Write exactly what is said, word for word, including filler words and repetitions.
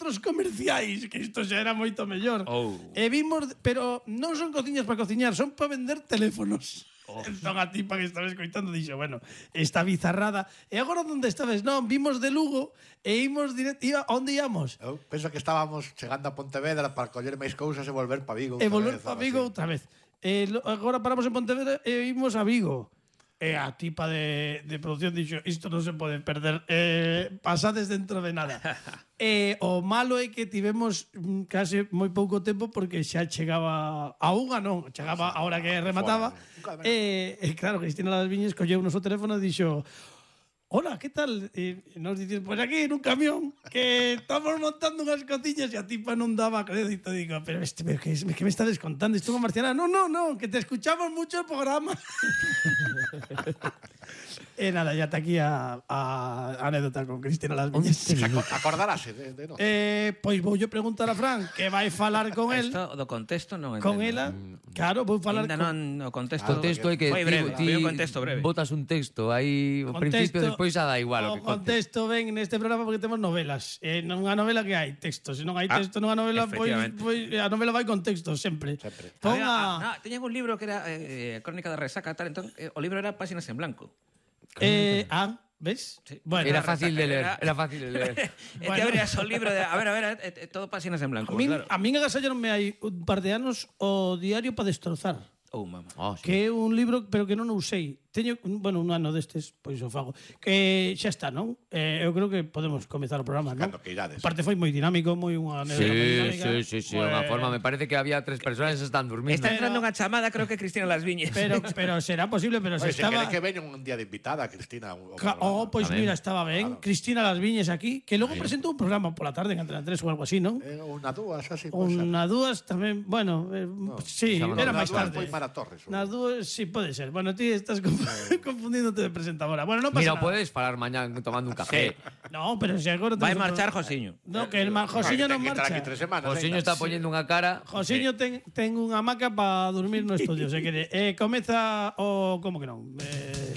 centros comerciais, que isto xa era moito mellor. Oh. E vimos, pero non son cociñas para cociñar, son para vender teléfonos. Oh. Entón a tipa que estaba escoitando dixo, bueno, esta bizarrada. E agora onde estabas? Non, vimos de Lugo e imos directo, iba, onde íamos? Eu penso que estábamos chegando a Pontevedra para coller máis cousas e volver para Vigo. E volver para Vigo outra vez. E lo, agora paramos en Pontevedra e imos a Vigo. E a tipa de, de producción dixo, isto non se pode perder, eh, pasades dentro de nada. E o malo é que tivemos mm, case moi pouco tempo porque xa chegaba a unha, non, chegaba a hora que remataba. E, e claro, Cristina Las Viñes colleu o noso teléfono e dixo, hola, ¿qué tal? E nos dicen, pues aquí en un camión que estamos montando unhas cociñas e a tipa non daba crédito. Digo, pero este, pero que, que me estás contando? Esto con Marciana. No, no, no, que te escuchamos mucho el programa. E nada, ya está aquí a, a anécdota con Cristina Las Viñes. Acordarase de, de no. Eh, pois vou yo preguntar a Fran que vai falar con el. Esto do contexto non entendo. Con ela, claro, vou falar Ainda con... non o contexto. O texto é que Foi breve, ti, foi un contexto breve. botas un texto aí ao principio, despois xa da igual o o que contes. contexto ven neste programa porque temos novelas. E nunha novela que hai texto. Se non hai texto nunha novela, pois, pois a novela vai con texto sempre. Sempre. Pon Ah, a... no, teñen un libro que era eh, Crónica de Resaca tal, entón eh, o libro era páxinas en blanco. Eh, ah, ves? Sí. Bueno, Era fácil de leer, Era- era fácil de leer. E te Bueno. abrías o libro de, a ver, a ver, eh, eh, todo páxinas en blanco. a min, claro. a min agasallaronme hai un par de anos o Diario para destrozar. Oh, mamá. Oh, sí. Que é un libro, pero que non o usei. Teño, bueno, un ano destes, pois o fago. Que xa está, non? Eh, eu creo que podemos comezar o programa, non? Cando que irades. Parte foi moi dinámico, moi unha anécdota moi Sí, dinámica. sí, sí, sí, unha forma, me parece que había tres persoas que están durmiendo. Está entrando unha chamada, creo que Cristina Las Viñes. Pero, pero será posible, pero se Oye, se estaba... quere que veña un día de invitada, Cristina. o- o Ca- programa. Oh, pois Tamén. mira, estaba ben. Claro. Cristina Las Viñes aquí, que logo presentou un programa pola tarde en Antena tres ou algo así, non? Eh, unha dúas, así. pode ser. Unha dúas tamén, bueno, eh, sí, xa me era Unha máis dúas tarde. foi Mara Torres. ou- Nas dúas, sí, pode ser. Bueno, ti estás conf- confundíndote de presentadora. Bueno, non pasa Mira, nada. podes falar mañán tomando un café. No, pero se agora... Vai temos un marchar pro- Josiño. No, que el ma- Josiño non Ten que estar aquí marcha. tres semanas. Josiño venga. está poñendo unha cara. Josiño ten, ten unha hamaca para dormir no estudio, se quere. Eh, comeza o... Como que non? Eh,